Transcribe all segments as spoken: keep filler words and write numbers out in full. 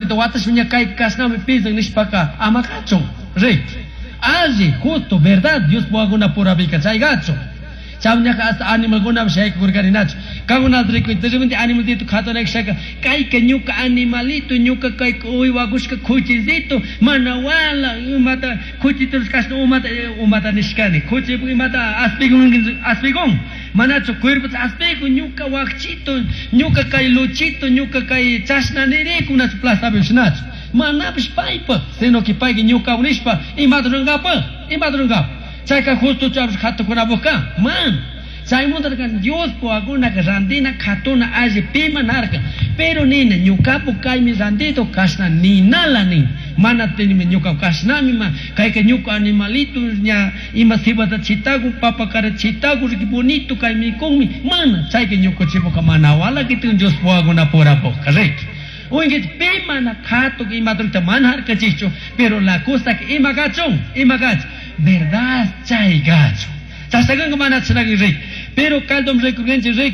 Repente watashpa ña kay kashnami pisan nishpaka ama kachun. Riki. Alli, justo, verdad, Dios purapika chaygachun. Chawñaka hasta animalkunapish yaykukurkaninachu. Kankunata rikuy, de repente animalito katunakshaka, kayka ñuka animalito, ñuka kay uywakushka kuchisito, mana wala, imata kuchito kashna umata umata nishkani, kuchi imata aspigun aspigun, manachu cuerpo aspigun, ñuka wakchito, ñuka kay luchito, ñuka kay chashna nirikunachu plazapi shinachu. Manapish paypa, sino que payka ñuka nishpa, imata rurankapak, imata rurankapak. Chayka justo charush katukunapuka, man. Chaymunta Dios puakunaka randina katuna alli pima narka. Pero nina ñukapu kaymi randito kashna ninala nin. Mana tenimi ñuka kashnami ma kayka ñuka animalito ña ima cebada chitaku papa cara chitaku riki bonito kaymi kunmi mana chayka ñuka chipuka mana wala kitin Dios puakunapurapuka riki. Oye, pi mana katu ima drukta mana harkachichu, pero la cosa que ima gachun, ima gach, verdad chay gacho. Chashagan mana chinagan rey. Pero caldom recurrente rey,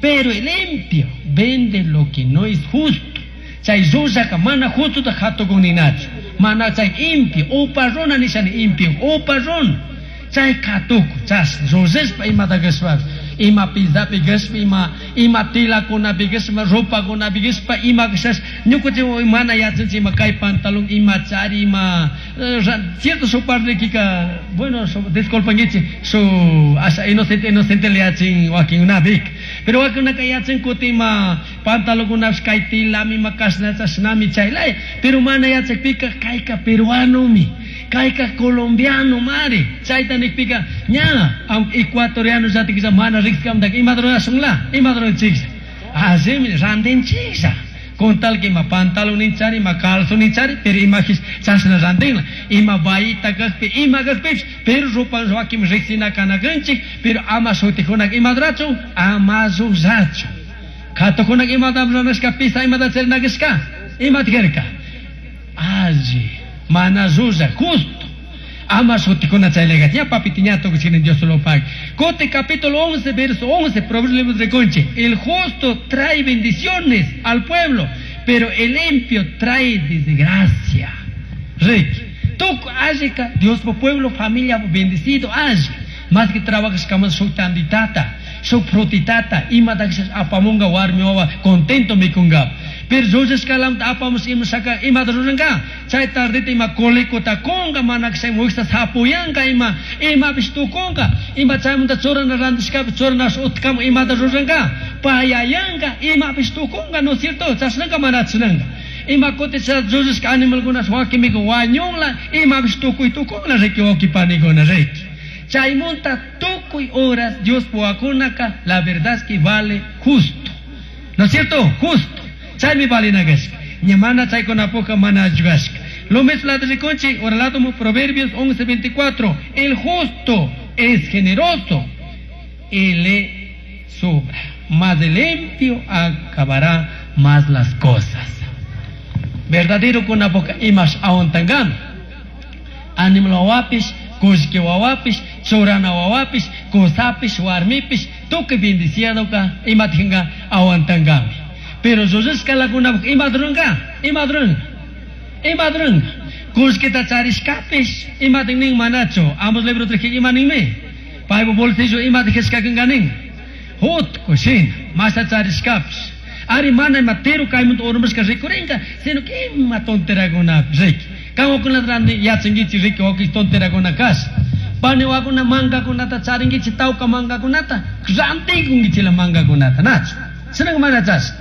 pero el limpio vende lo que no es justo. Chay rushaka mana justo ta hatu kuninachu. Mana chay impio, upa runa nishani impio, upa runa. Chay katuku, chas, rushishpa imata gashpa, ima pizapi gashpa, ima, ima tilakunapi gashpa, ropakunapi gashpa, ima gashash, ñukuchi mana yachanchi ima kay pantalón, ima chari, ima, cierto su parle kika, bueno, su, disculpanguichi, su, asa inocente, inocente le yachin wakinkunapik. Pero wakinkunaka yachin kuti ima pantalonkunapish kay tilami, ima kashna chashnami chaylaya, pero mana yachakpika kayka peruanomi, kayka colombiano mari, chayta nikpika ña, aunque ecuatoriano yatikisha mana rikskamtaka ima rurashunla, ima ruranchiklla. Asimi rantinchiklla. Con tal que ima pantalón ninchari, ima calzón ninchari, pero ima chashna rantinla, ima bayita kakpi, ima kakpish, pero ropa wakin riksina kanakanchik, pero ama shutikunak ima rurachun, ama rurachu. Katukunak imata ruranashka, pisa imata charinakishka, imata kirka. Alli, mana rura, justo. Ama shutikuna chaylega, ña papiti ña tukuchini Dios lo pague. Cote capítulo once, verso once, Proverbios de Conche. El justo trae bendiciones al pueblo, pero el impío trae desgracia. Rey, tuku allika, Dios por pueblo, familia bendecido, alli. Más que trabajas como su tanditata, su frutitata, ima taxas apamunga warmi wawa, contento mi kunga. Pero yo escalam apamos ima saka ima druranga, chay tardita ima kolikota konga manak say muxta sapuyanka ima ima bistu konga, ima chay munda chorana randishka chorana utkam ima druranga, payayanga ima bistu konga, no es cierto, chasnanga manachnanga. Ima kote cha Jesus animal gunas wakimigo wañungla ima bistu kuitukonga reki okipanigona reki. Chaymunta tukuy horas Dios puakunaka, la verdad es que vale justo. ¿No es cierto? Justo. Chaymi valinagashka. Ñamana chaykunapuka mana ayudashka. Lo mismo la de Conchi, ahora la tomo Proverbios once veinticuatro. El justo es generoso y le sobra. Mas el limpio acabará más las cosas. Verdadero con la boca y más aontangam. Animal wapis, kushki wawapis, churana wawapis, kusapis, warmipis, tuki bendiciadoka, imatinga aguantangami. Pero yo es que la cuna, imadrunga, imadrunga, imadrunga. Kushkita charishkapis, imatingning manacho, ambos libros de que imaningme. Paibo bolsillo imatijeshkakanganing. Hot kushin, masa charishkapis. Ari mana imatero kaimunt ormushka rikuringa, sino que ima tonteraguna riki. Kawakuna randi yachangichi riki waki tonteraguna kas. Pani wakuna mangakunata charingichi tauka mangakunata, rantikungichi la mangakunata, nacho. Sinang mana chas.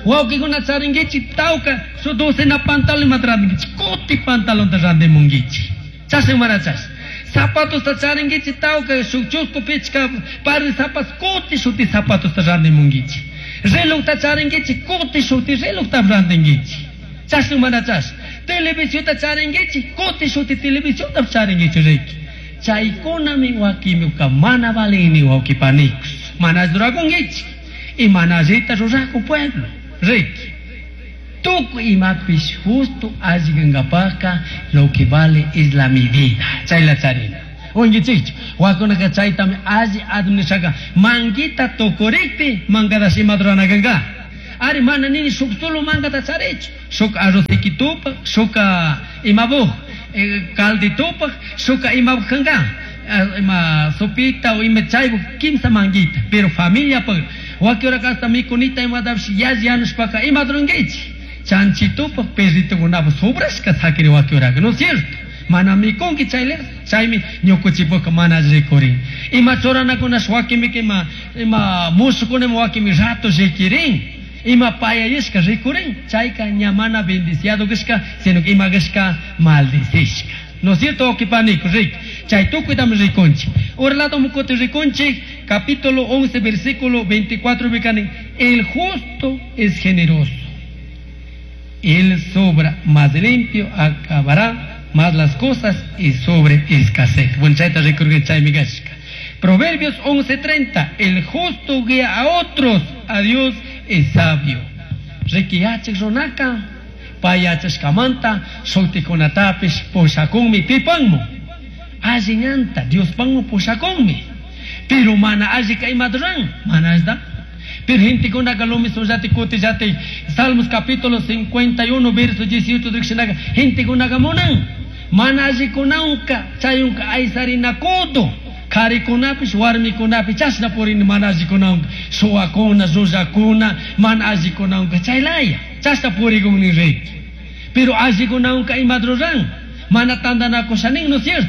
Wakikuna charingichi tauka su docena pantalón matrangichi, koti pantalón ta randimungichi. Chasing mana chas. Zapatos ta charingichi tauka su chusco pichka par de zapatos koti shuti zapatos ta randimungichi. Reloj ta charingichi koti shuti reloj ta randimungichi. Chasing mana chas. Televisión ta charingichi koti shuti televisión ta charingichi reki. Chaykunami wakimiuka mana valini wakipanikus. Mana durakungichi. Y manallita ruraku pueblo. Reki. Tuku imapis justo alligangapaka lo que vale es la medida. Chayla charina. Ungichich, wakunaka chaytami alli administraka manguita tokorikpi mangada simadranaganga. Ari mana nini shuk solo mangata charichu. Shuk arroz shuk imabuj calditupa, shuk imabuj kanga. Ima sopita o ima chaybuj kimsa manguita. Pero familia pa wakiura kasta mikunita imatapish yalli yanushpaka imata rurankichik. Chanchitupa perritukunapa sobrashka sakiri wakiuraka, ¿no es cierto? Mana mikunki chayla, chaymi ñukuchipuka mana rikurin. Ima churanakunash wakinpika ima ima mushukuna ima wakinmi rato rikirin. Ima payayashka rikurin. Chayka ña mana bendiciado kashka, sino que ima kashka maldicishka. ¿No es cierto, wawqipaniku? Rik. Chay tukuytami rikunchik. Ura lado mukuti rikunchik, capítulo once, versículo veinticuatro, bikanin, el justo es generoso. Él sobra más limpio, acabará más las cosas y sobre escasez. Bueno, chayta rikurgan chaymi kashka. Proverbios once treinta, el justo guía a otros, a Dios es sabio. Riki yachak runaka, pay yachashkamanta, shutikunatapish pushakunmi pipanmu. Alli ñanta, Diospanmu pushakunmi. Pero mana allika imata ruran, mana allita. Pero gentekunaka lumisuyati kutillati, Salmos capítulo cincuenta y uno, verso dieciocho, rikshinaka, gentekunaka munan. Mana allikunanka, chayunka aysarinakutu. Karikunapish, warmikunapish, chashna purini mana allikunanka. Suwakuna, llullakuna, mana allikunanka, chaylaya. Chashna purikunni riki. Pero allikunanka imata ruran. Mana tantanakushanin, ¿no es cierto?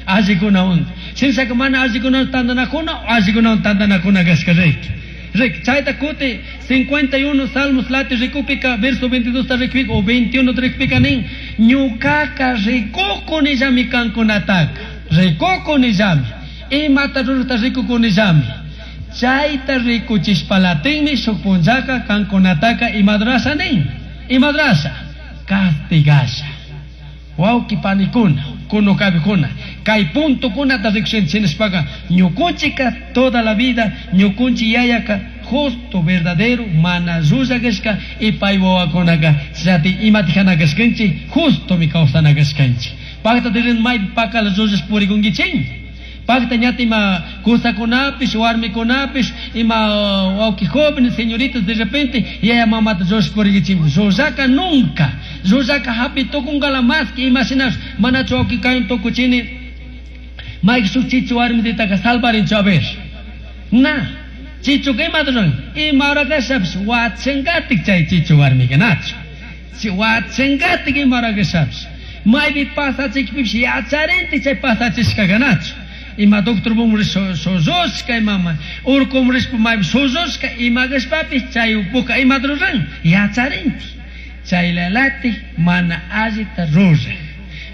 Allikunawan. Shinshaka mana allikunawan tantanakuna, allikunawan tantanakuna kashka riki. Rik, chayta kuti cincuenta y uno Salmos lati rikupika, verso veintidós ta rikupika, o veintiuno ta rikupika nin, ñukaka rikukunillami kankunataka, rikukunillami, imata rurata rikukunillami. Chayta rikuchishpalatinmi shuk punllaka kankunataka imadrasha nin, imadrasha, castigasha. Wawqi panikuna, kunukabikuna, kay puntokunata rikushinchishpaka, ñukunchika toda la vida, ñukunchi yayaka, justo, verdadero, mana llulla kashka, y pay wawakunaka, chati imatijana kashkanchik, justo mi kawsana kashkanchik. Pakta tirin maypi pakala llullash purikunkichik. Pakta ñata ima kusakunapish, warmikunapish, ima wawqi jóvenes, señoritas, de repente, yaya mamata llullash purikunkichik. Llullaka nunca, llullaka hapi tukunkala más que imaginash, manachu wawqi kayn tukuchini, mayki shuk chichu warmititaka salvarinchu a ver. Na, chichu ka imata ruran? Ima hora kashapish, wachankatik chay chichu warmika nachu. Si wachankatik ima hora kashapish. Maypi pasachikpipish yacharintik chay pasachishkaka nachu. Ima doctor bum shushka, ima urkum rishpa maypi shushka, ima kashpapish chay upuka imata ruran? Yacharintik. Chaylalatik mana allita ruraj.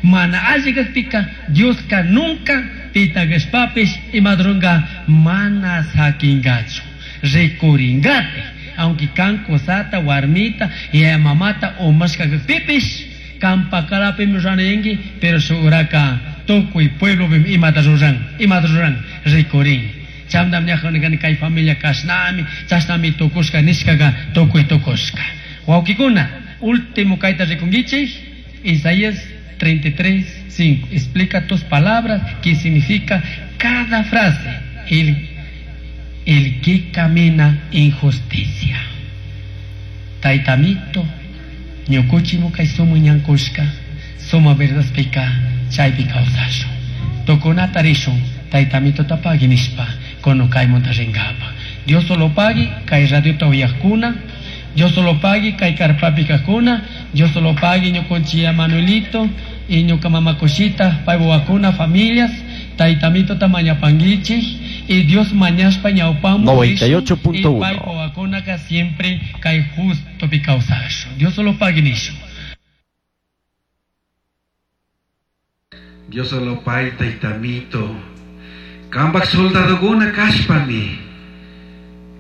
Mana alli kakpika Dioska nunca pita kashpapish imata ruranka mana sakingachu. Rikuringati. Aunque kan kusata, warmita, yaya mamata umashka kakpipish, kan pakalapimi rurayanki, pero shuraka tukuy pueblo imata ruran, imata ruran, rikurin. Chamdam ñajan kay familia kashnami, chashnami tukushka nishkaka tukuy tukushka. Wawqikuna, último kayta rikunkichik, Isaías treinta y tres, cinco. Explica tus palabras, qué significa cada frase. El, el que camina en justicia. Taytamito, ñukuchimu kay sumu ñankushka, suma verdaspika, chaypi kawsashun. Tukunata rishun, taytamito tapagui nishpa, kono kaymunta rinkapa. Dios solo pagui, kay radiota uyaqkuna, Dios solo pagui, kay karpapi kaqkuna, Dios solo pagui ñukunchia Manuelito, y ñuka mamakushita, pay wawakuna, familias, taytamito tamañapanguichik, y Dios mañashpa ñawpamu noventa y ocho punto uno. Y pay wawakunaka siempre kay justo pi kawsashun. Dios solo pagui nishun. Dios solo pagui taytamito. Kambak soldadokuna kashpami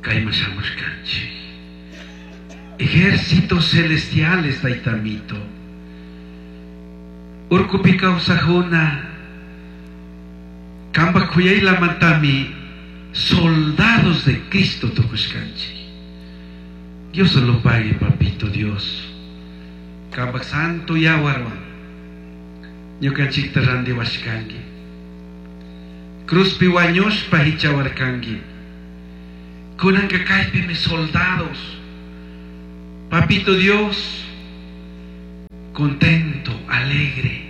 kayman shamushkanchik. Ejércitos celestiales taytamito. Urkupi kawsajuna kambak kuyaylamantami soldados de Cristo tukushkanchik. Dios solo pague, papito Dios. Kambak santo yawarwan ñukanchikta randiwashkanki. Cruzpi wañushpa hichawarkanki. Kunanka kaypimi soldados. Papito Dios, contento, alegre.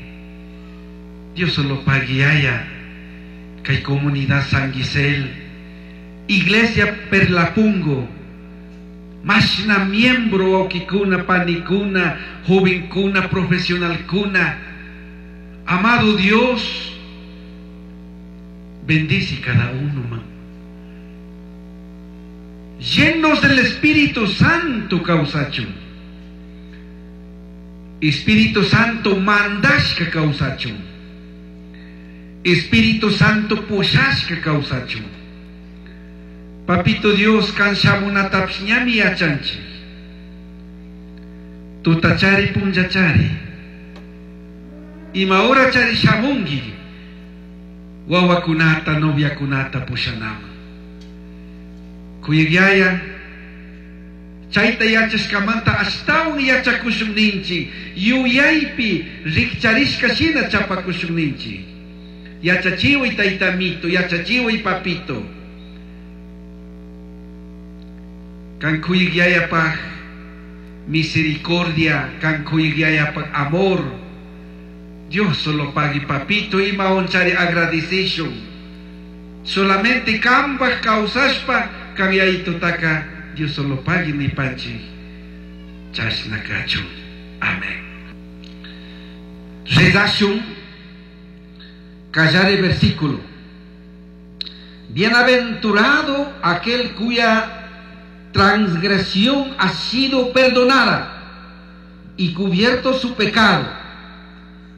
Dios solo pague kay comunidad San Gisel, Iglesia Perlapungo, mashna miembro wawkikuna, panikuna, jovenkuna, profesionalkuna. Amado Dios, bendice cada uno, man. Llenos del Espíritu Santo kawsachun. Espíritu Santo mandashka kawsachun. Espíritu Santo pushashka kawsachun. Papito Dios, kan shamunatapish ñami yachanchik. Tutachari punllachari. Ima horachari shamunki. Wawakunata, noviakunata pushanaman. Kuyaq Yaya, chayta yachashkamanta ashtawan yachakushun ninchik, yuyaypi rikcharishka shina chapakushun ninchik. Yachachiway taytamito, yachachiway papito. Kan kuyaq Yayapaj misericordia, kan kuyaq Yayapaj amor. Dios solo pagui papito, ima onchari agradecishun. Solamente kambaj kawsashpa kan yayitutaka Dios solo pagui nipanchik. Chashna kachun. Amén. Rezashun. Callar el versículo. Bienaventurado aquel cuya transgresión ha sido perdonada y cubierto su pecado.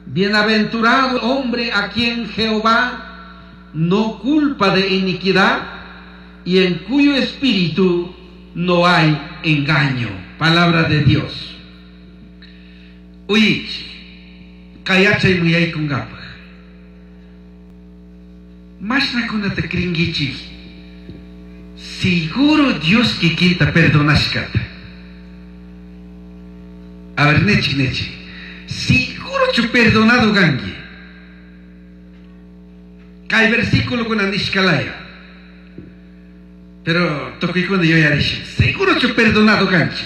Bienaventurado hombre a quien Jehová no culpa de iniquidad y en cuyo espíritu no hay engaño. Palabra de Dios. Uy, kayachay muyay kungapaj. Mashnakunata krinkichik. Seguro Dios kikinta perdonashkata. A ver, nechi, nechi. Seguro chu perdonado gangi. Kay versículo kuna nishkalaya. Pero tukuykuna yuyarish. Seguro chu perdonado ganchi.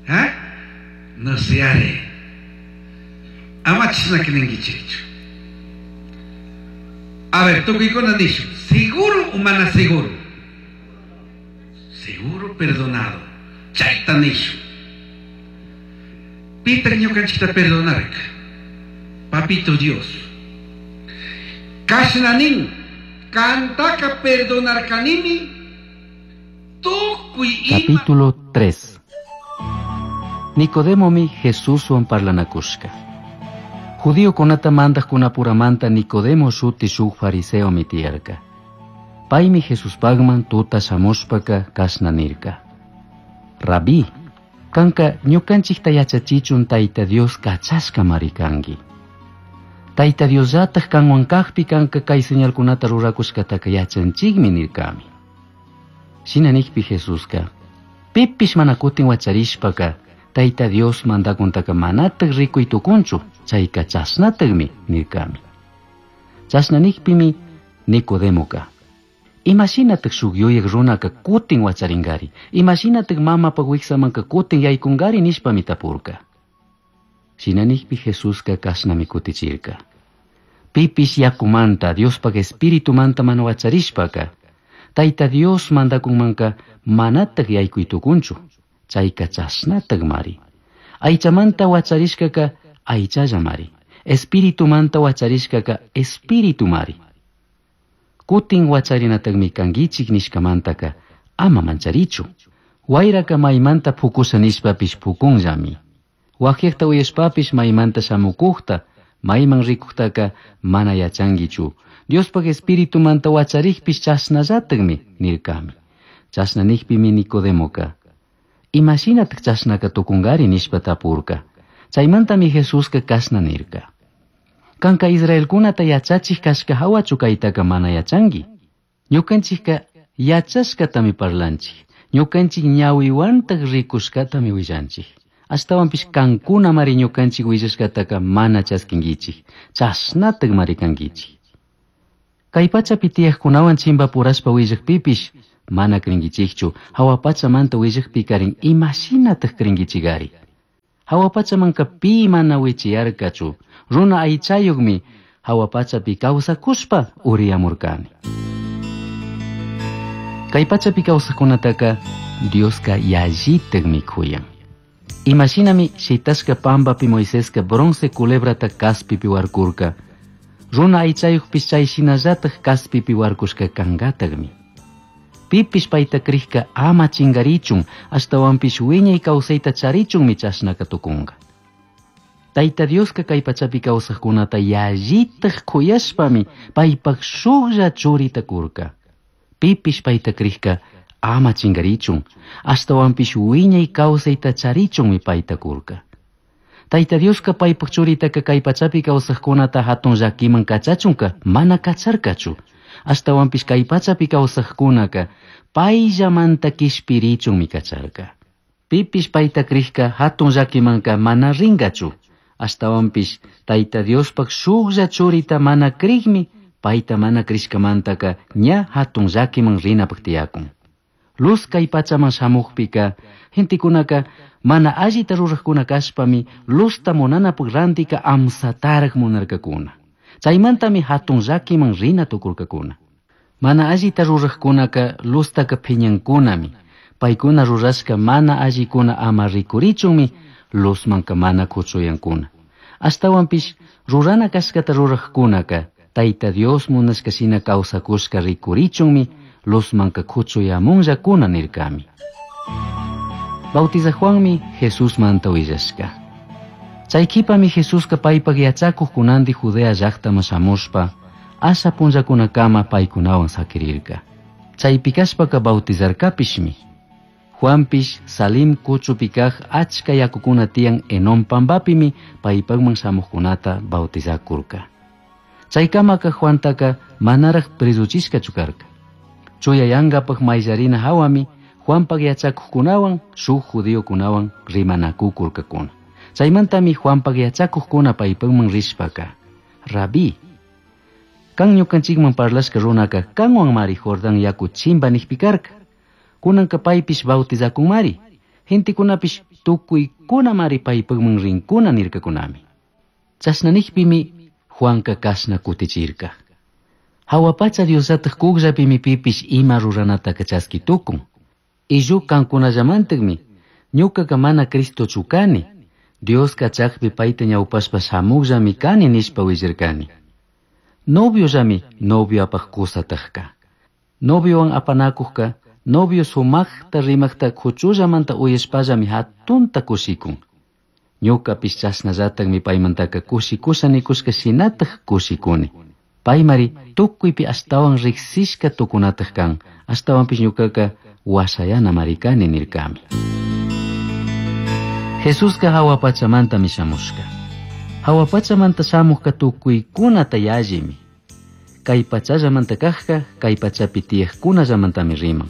¿Ah? No se haré. Ama chashna ninkichikchu. A ver, tukuykuna nishu. Seguro o mana seguro? Seguro perdonado. Chayta nishu. Pitaq ñukanchikta perdonarka. Papito Dios. Kashna nin, kantaka perdonarkanimi, tukuy ima. Capítulo tres. Nicodemomi Jesuswan parlanakushka. Judiokunata mandajkunapuramanta Nicodemo shuti shuk fariseomi tiyarka. Paymi Jesuspagman tuta shamushpaka kashna nirka. Rabí, kanka ñukanchikta yachachichun Tayta Dios kachashkamari kanki. Tayta Diosllataj kanwan kajpi kanka kay señalkunata rurakushkataka yachanchikmi nirkami. Shina nikpi Jesuska, pipish mana kutin wacharishpaka Tayta Dios mandakuntaka manataj rikuy tukunchu, chayka chashnatajmi nirkami. Chashna nikpimi Nicodemoka, imashinataj shuk yuyaq runaka kutin wacharinkari, imashinataj mamapaj wiksamanka kutin yaykunkari nishpami tapurka. Shina nikpi Jesuska kashnami kutichirka. Pipish yakumanta Diospaj espiritumanta mana wacharishpaka, Tayta Dios mandakunmanka manataj yaykuy tukunchu, chayka chashnatajmari. Aychamanta wacharishkaka aychallamari, espiritumanta wacharishkaka espiritumari. Kutin wacharinatajmi kankichik nishkamantaka ama mancharichu. Wayraka maymanta pukusha nishpapish pukunllami. Wajiaqta uyashpapish maymanta shamukujta, mayman rikujtaka mana yachankichu. Diospaj espiritumanta wacharikpish chashnallatajmi nirkami. Chashna nikpimi Nicodemoka, imashinataj chashnaka tukunkari nishpa tapurka. Chaymantami Jesuska kashna nirka. Kanka Israelkunata yachachik kashka hawachu kaytaka mana yachanki. Ñukanchikka yachashkatami parlanchik. Ñukanchik ñawiwantaj rikushkatami willanchik. Ashtawanpish kankunamari ñukanchik willashkataka mana chaskinkichik. Chashnataj mari kankichik. Kay pachapi tiyaqkunawan chimpapurashpa willakpipish mana cringuichikchu, hawa pachamanta willakpikarin imashinataj cringuichigari. Hawa pachamanka pi mana wichiyarkachu, runa aychayuqmi hawa pachapi kawsakushpa uriyamurkani. Kay pachapi kawsaqkunataka Dioska yallitakmi kuyan. Imashinami shitashka pampapi Moiseska bronce culebrata kaspipi warkurka, runa aychayuqpis chay shinallataj kaspipi warkushka kangataqmi. Pipish payta krikka ama chingarichun, ashtawanpish wiñay kawsayta charichunmi chashnaka tukunqa. Tayta Dioska kay pachapi kawsaqkunata yallitaj kuyashpami paypaq shuklla churita kurka. Pipish payta krikka ama chingarichun, ashtawanpish wiñay kawsayta charichunmi payta kurka. Tayta Dioska paypaq churitaka kay pachapi kawsaqkunata hatun llakiman kachachunka mana kacharkachu. Ashtawanpish kay pachapi kawsaqkunaka payllamanta kishpirichunmi kacharka. Pipish payta krikka hatun llakimanka mana rinkachu. Ashtawanpish Tayta Diospaq shuklla churita mana krikmi payta mana krishkamantaka ña hatun llakiman rinapaq tiyakun. Luz kay pachaman shamuqpika gentekunaka mana allita ruraqkuna kashpami luzta munanapaq rantika amsataraq munarkakuna. Chaymantami hatun llakiman rina tukurkakuna. Mana allita ruraqkunaka luztaka phiñankunami. Paykuna rurashka mana allikuna ama rikurichunmi luzmanka mana kuchuyankuna. Ashtawanpish rurana kashkata ruraqkunaka Tayta Dios munashka shina kawsakushka rikurichunmi luzmanka kuchuyamunllakuna nirkami. Bautizaq Juanmi Jesusmanta willashka. Chay qhipami Jesuska paypaq yachakuqkunanti Judea llaqtaman shamushpa asha punllakunakama paykunawan sakirirka. Chaypi kashpaka bautizarkapishmi. Juanpish Salim kuchupi kaq achka yakukuna tiyan Enon pampapimi paypaqman shamuqkunata bautizakurka. Chaykamaka Juantaka manaraq presuchishkachu karka. Chuyayankapaq mayllarina hawami Juanpaq yachakuqkunawan shuk judiokunawan rimanakukurkakuna. Chaymantami Juanpaq yachakuqkuna paypaqman rishpaka, Rabí, kan ñukanchikman parlashka runaka kanwanmari Jordán yaku chimpa niqpi karka. Kunanka paypish bautizakunmari, gentekunapish tukuykunamari paypaqman rinkuna nirkakunami. Chashna niqpimi Juanka kashna kutichirka. Hawa pacha Diosllataj kukllapimi pipish ima ruranataka chaski tukun. Illu kankunallamantaqmi ñukaka mana Cristochu kani, Dios kachaqpi payta ñawpashpa shamuqllami kani nishpa willarkani. Noviollami novioapaq kusatajka. Noviowan apanakuqka novio sumaqta rimaqta kuchullamanta uyashpallami hatunta kushikun. Ñukapish chashnallataqmi paymantaka kushikusha nikushka shinataj kushikuni. Paymari tukuypi ashtawan riqsishka tukunataq kan, ashtawanpish ñukaka washayanamari kani nirkami. Jesuska hawa pachamantami shamushka. Hawa pachamanta shamuqka tukuykunata yallimi. Kay pachallamanta kaqka kay pachapi tiyaqkunallamantami riman.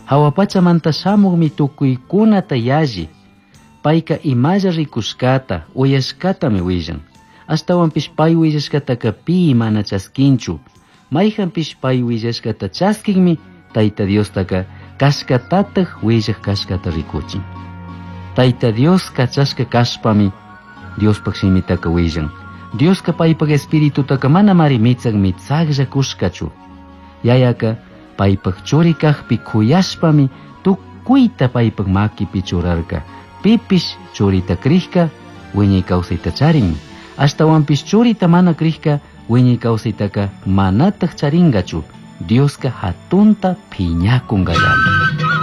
Hawa pachamanta shamuqmi tukuykunata yalli. Payka imalla rikushkata, uyashkatami willan. Ashtawanpish pay willashkataka pi mana chaskinchu. Mayqanpish pay willashkata chaskinmi Tayta Diostaka kashkatataq willaq kashkata rikuchin. Tayta Dios kachashka kashpami Diospaq shimitaka willan. Dioska paypaq espiritutaka manamari mitzaq mitzaqlla kushkachu. Yayaka paypaq churi kaqpi kuyashpami tukuyta paypaq makipi churarka. Pipish churita krikka wiñay kawsayta charin. Ashtawanpish churita mana krikka wiñay kawsaytaka manataq charinkachu. Dioska hatunta phiñakunkallami.